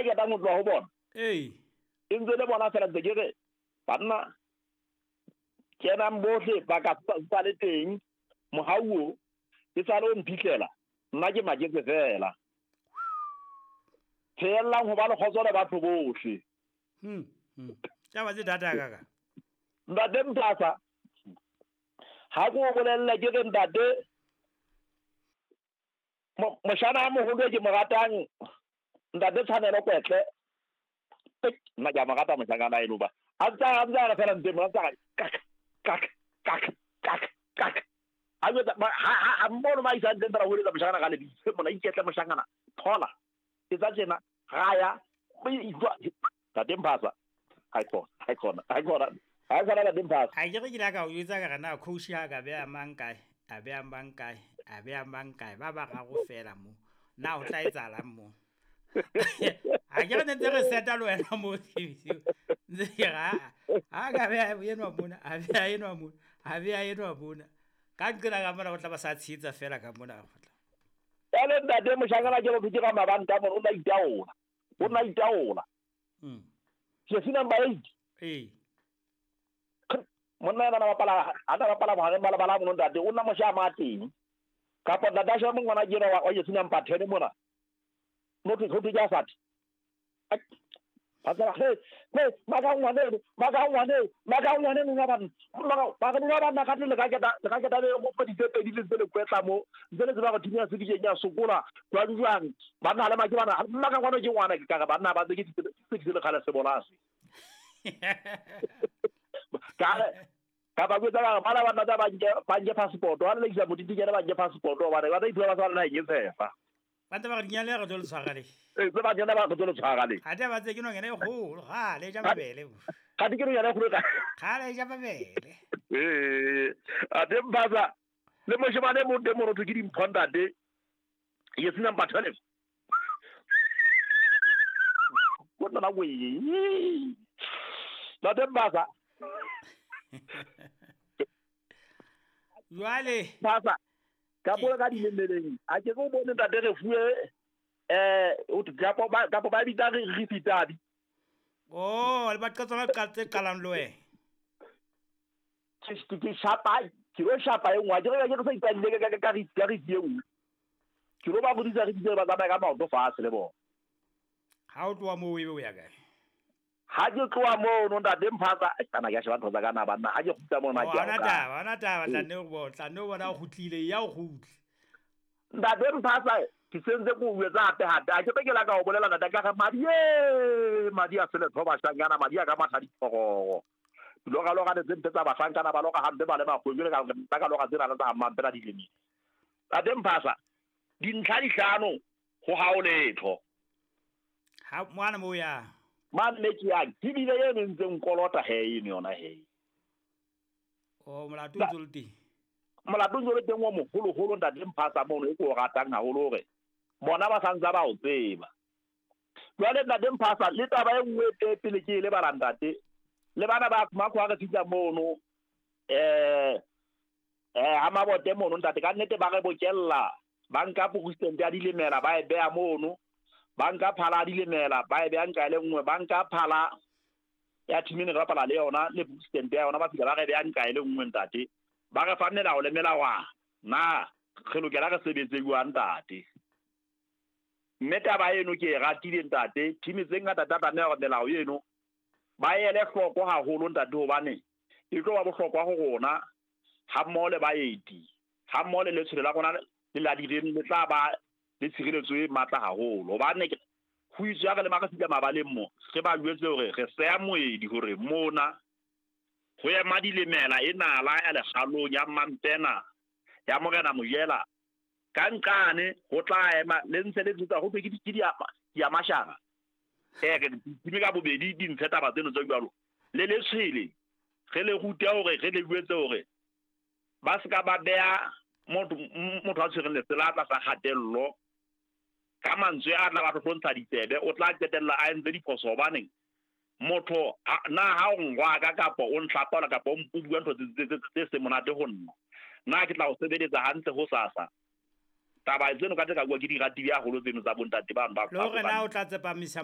e ketang ho tloha ho bona. Ee. E ntse le bona fela ntse ke re banna kenang bohle ba ka sa le teng mohau o e sale o mphihlela nna ke maketse fela. Pheellang ho ba le kgotso le batho bohle. Taba tse thata kaka. Ntate Mphasa, ha ke o bolelle ke re ntate moshana a moholo e ke mo ratang ntate Tshwanelo Kwetle. Nna ke a mo rata moshanyana eno ba. A ntse a re fela ntse mo a ntse a re kak kak kak kak kak. A jwetsa ha mmono ma isang teng fela ho eletsa moshanyana ka lebitso. Mona iketle moshanyana thola. Etsa tjena raya ntate Mphasa. Ha khona ntate Mphasa. A ke re ke la ka o jwetsa ka re na coach ha ka beha mang kae, a beha mang kae, a beha mang kae, ba bararo fela mo. Na o tla etsahalang mo? A ke re ne ntse re seta le wena mo ntse ke re ha ka beha enwa mona, a beha enwa mona, a beha enwa mona. Ka nqena ka mona o tla ba sa tshehetsa fela ka mona. Jwale ntate moshanyana ke motho ke ka mabanta mona o na itaola. O na itaola. Jersey number 8. Ee. Monna ena bapala a na bapala bohareng ba lebala mono ntate o nna mosha ma teng. Kapa ntate a sheba ngwana ke ena wa jersey number 10 mona. Motho ho ke a fati. Ba tsela he maka ngwane nna ba maka ba ka le ka keta le go feditse pedi le tsele kwetla mo ntse le tseba go thinya se ke ya sokola jwang jwang ba nna le maki bana maka ngwana ke ngwana ke ka ba nna ba tse ke tse le kgale se bolase ka ba kwetsa ka bana ba nna ba nke passport wa le isa motiti ke ba nke passport ba re ba ithuba ba sa le eng tshefa. Ba ntse ba re dinyane re tlo le tshwara le. Ee, tse ba dinyane ba re tlo le tshwara le. Ha ba tse ke nonyana e kgolo, kgale e ja mabele. Ga di ke nonyana e kgolo ka. Kgale e ja mabele. Ee, a teng Mphasa le moshemane mo teng mo ke dimpho ntate. Ye sina number 12. Go nna we. Ntate Mphasa. Jwale. Mphasa. Ka bua ka dilemeleng a ke go bone ntate re fuwe kapo ba bitsa re fitabi. Oh, le ba qetsana tse qalang le wena. Ke shapa, ke lo shapa e nngwe, ke re ke sa ipalle ka re e nngwe. Ke lo ba bodisa re ditse ba tsamaya ka maoto fatshe le bona. Ha o tloha moo ebe o ya kae? Ha ke tloha moo no ntate Mphasa, kana ke a sheba ntho tsa ka na banna, ha ke kgutla mona ke a ona taba tla ne o tla ne o bona o kgutlile ya o kgutle. Ntate Mphasa ke sentse ko o etsa hape hape a ke be ke la ka o bolela ntate ka re madi a sele thoba shangana madi a ka matha diphororo. Loga loga tse ntse tsa bahlankana ba loga hampe ba le makgweng le ka ka loga tsena tsa mampela dilemi. Ntate Mphasa dintlha di hlano ho ha o letho. Ha mwana mo ya. Man me ke yang ke bile eno ntse nkolota he eno yona he. O molato o ntse le teng. Molato o ntse le teng wa moholoholo ntate Mphasa mono e ke o ratang haholo hore bona ba santsa ba o tseba. Jwale ntate Mphasa le taba e nngwe e pele ke e lebala ntate. Le bana ba makho a re fihla mono ha mabote mono ntate ka nnete ba re bokella ba nka president ya dilemela ba e beha mono. Ba nka phala dilemela ba e beha nka le nngwe, ba nka phala ya team ne re bapala le yona le president ya yona ba fihla ba re beha nka le nngwe ntate. Ba re fa melao le melawana na re lokela re sebetse jwang ntate. Mme taba eno ke e ratile ntate, team tse ngata tsa tlameha hore melao eno ba ele hloko haholo ntate hobane e tlo ba bohlokwa ho rona ha mmoho le baeti, ha mmoho le letshwele la rona le la direng le tla ba le tshireletso e matla haholo. Hobane ho itswe ha re le makasika mabaleng mo re ba jwetse hore re seya moedi hore mona ho ema dilemela e nala ya lekgalong ya Mampena ya Morena Mojela ka nqane ho tla ema le ntse le tsa ho ke di mashara re di ka bobedi di ntshe taba tseno tse jwalo le letshwele re le rute hore re le jwetse hore ba se ka ba beha motho a tshwereng lesela tlasa kgatello ka mantswe a tla ba hlohlontsha ditsebe o tla qetella a entse diphoso hobaneng motho na ha o ngwaka kapa o ntlhapaola kapa o bua ntho tse se monate ho nna na ke tla o sebeletsa hantle ho sasa. Taba tseno ka tse ka bua ke di ratile haholo tseno tsa bontate bano ba le hore na o tla tsepamisa